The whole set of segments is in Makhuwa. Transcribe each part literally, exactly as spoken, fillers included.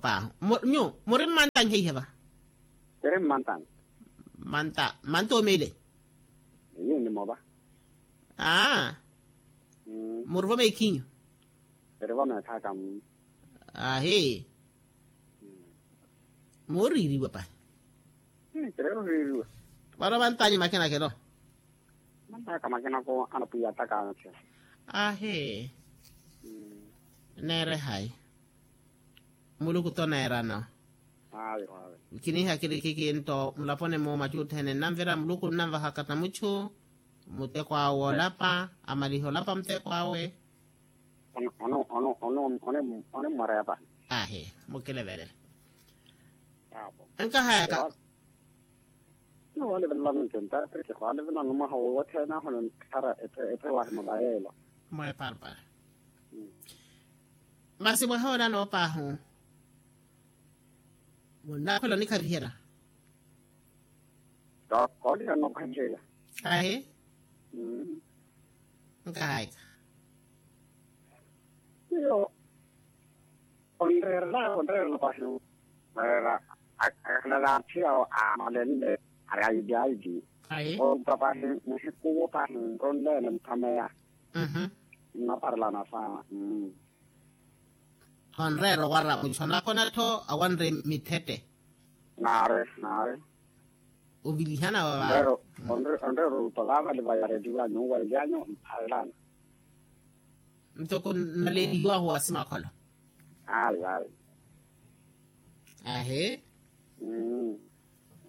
Paho. Nyu muri mmantanhe ihe va? Kiri mmantanhe. Manta manta omile. Eyo ni mova. Aa. Muri vo meekhinyu? Kiri vo meekhaka. Ahi. Mooriiriwa pahi. Kiri oriiriwa. Vano vantanyu makinakelo. Mantaka makinako anapwiya ataka anse. Ahi. Neere hayi? Muluku toneerano. Kiniiha kiri kiki nto mulaponi-mu macuuthene nnanvira muluku nnanvahaka na muchu. Muteko awe olapa amaliha olapa muteko awe. Ono ono ono ono one one mwareya pani. Ahi. Mukilevele. Nkahayaka. Niwalivilana nkinta tirikhi khwalivilana mwaha wothene aho ninkhara. Ete wahi mulayelo. Mweparpara. Masi mwaha ola noopaahu. Munnaakhwela onikhaviherya. Kooliha nookhanceya. Ahi. Nkahayaka. Iyo. Onreerela onreerela pahi. Weera akhalala atthi awo aamalenle ari aidi aidi. Orupa pahi muhikuwo pahi nronleene muthameya. Nnaparelana saana. Onreera owara muchu anakona-tho awanre mithette. Naari naari. Ovilihana wa vaava. Onreera orupa vaavali vayareliwanyu owailyanyu mphalelana. Ntoko nnaleliwahu wa simakholo. Ayi ayi. Ahi.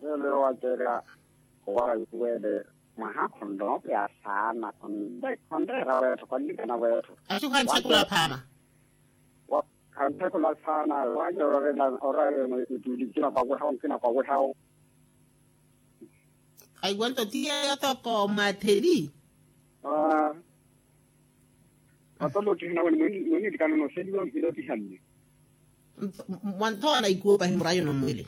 Lelo wacerya owara yuwele mwaha khonnoopya saana. Khonreera weetho khonlikana weetho. Aci khanthekula phaama. Khanthekula saana wanyorolela oraremo itulikina kwawehawo nkina kwawehawo. Aiwanto ti yeyo toko matheli. Matolo tihina wani mwini mwini likano noseliwa mpilo tihanne. Mwanthoona ikuwo pahi murayo nomwili.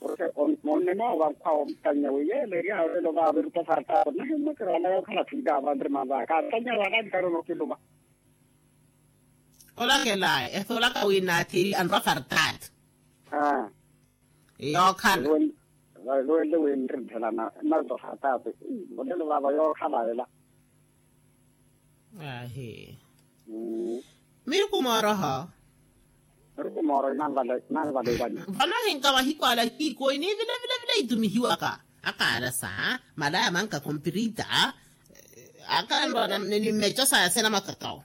Ose onne noova nkwawo mutanya weyele ria elo vaverupa sartako nahimmwekera wala yokhala thwika avanre mavaka atanya rwala likano nokiluva. Olakelaya esolaka wi naathiri anrwa fartaati. Yookhala. Luwenle wi nri nthelana narto fartaati. Olelo vaava yookhala ela. Ahi. Miruku mooroho. Miruku mooroho inanvale inanvale ivani. Vano ahinka mahiku ala kiikoyi ni vila vila vila itumihiwaka. Akaarasa malaya manka kompirita. Akanrwa ni mmeco saya sena makakawo.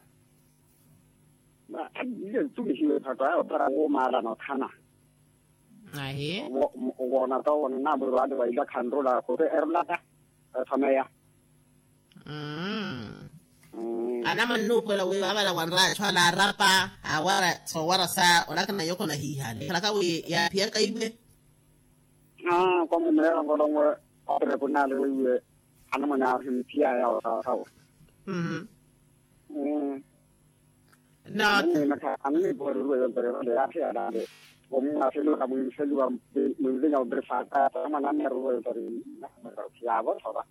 Ile ntumihiwe phatto aya opara woomaala nothana. Ahi. Woona to wonna mwiru ale waila khanrula khuti erulaka. Ethomeya. Anamwane nuupuwela wi vaavala wanraachu alaarapa awara soowara sa olakana yoko nahihale khalaka wi yaaphiyaka iwe. Aa kwamumeera ngolongwe. Operekunale weiwe anamwane ahimpiyaya osawasawo. Mmm. Naka annipooriruwe yontore vale yaathi yalale. Omwaseluka mwinseluwa mwinvinya ombere saata anamwane anniruwe yontore. Yaavothova.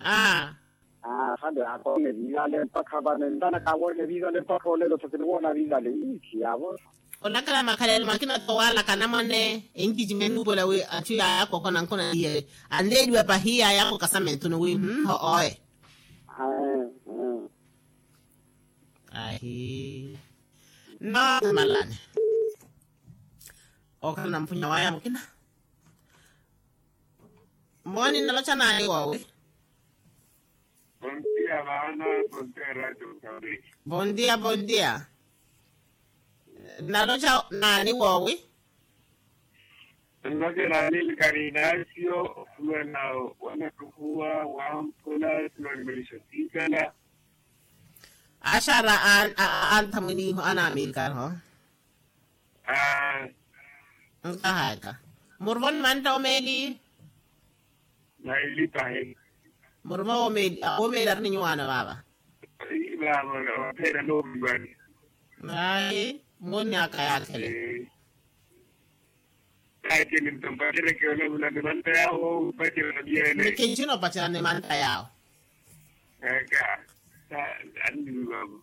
Aa. Aa khale akoone viivale mpakha vano entanaka awoone viivale mpakha olelo tho kiniwoona viivale. Iithi yaavothova. Olakala makhalelo makina towalaka anamwane enkicimeni nuupola wi achu yaaya koko nankona iye. Anleeliwa pahi yaaya koko kasamentuni wi mmm ho oye. Ahi. Nno malani. Okhala na mpunya waya mukina. Moni nnalocha naani woowi? Bondia vaana. Bondia radio mukambiki. Bondia bondia. Nnalocha naani woowi? Nnalocha naani likari inasio okhulwela. Wanatukhuwa wampula sinolimelisho siikala. Axara antha mwiniiho anaamiikaraho. Nkahaka. Muruvo ni mantta omeeli. Nailipahi. Muruvo omeeli omeeli ari ni nyuwaano vaava. Vaava vaphera noovivani. Ayi. Munni aka yaakhele. Ayi tini nto mpacereke olavula ni mantta yaawo mpacerana viyene. Nikinci noopacerana ni mantta yaawo. Eka. Annivivaavo.